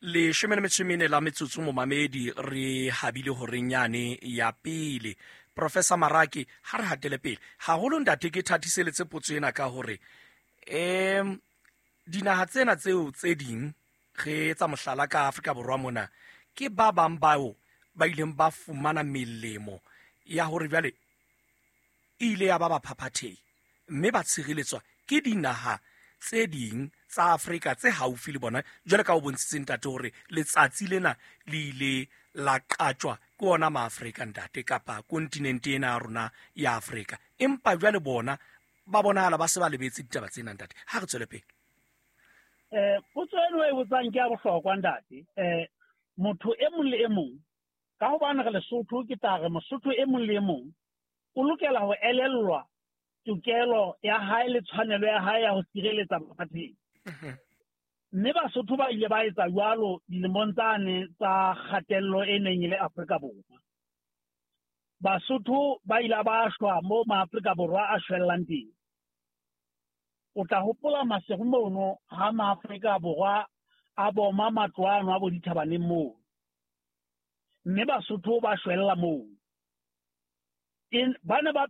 14 la metsotso, momamedi, re habile horeng yane ya pele. Professor Maraki, ha re hatele pele haholo, ntate, ke thatiseletse potso ena ka hore dinaha tsena tseo tse ding, re etsa mohlala ka Afrika Borwa mona, ke ba bang bao ba ileng ba fumana melemo ya hore jwale e ile ya ba baphaphathehi, mme ba tshireletswa ke dinaha tse ding tsa Afrika tse haufi le bona, jwale ka o bontshitse, ntate, hore letsatsi lena le ile la qatjwa ke ona Maafrika, ntate, kapa kontinente ena ya rona ya Afrika. Empa jwale bona ba bonahala ba se ba lebetse ditaba tsena, ntate. Ha re tswele pele. Potso eno e botsang ke ya bohlokwa, ntate. Motho e mong le e mong, ka hobane re Lesotho, ke tla re Mosotho e mong le e mong o lokela ho elellwa tokelo ya hae le tshwanelo ya hae ya ho sireletsa baphaphathehi. Mme Basotho ba ile ba etsa jwalo dilemong tsane tsa kgatello e neng e le Afrika Borwa. Basotho ba ile ba shwa mo Maafrika Borwa a shwellang teng. O tla hopola Maseru mono ha Maafrika Borwa a boma matlo ano a bo dithabaneng moo. Mme Basotho ba shwella moo. Ba ne ba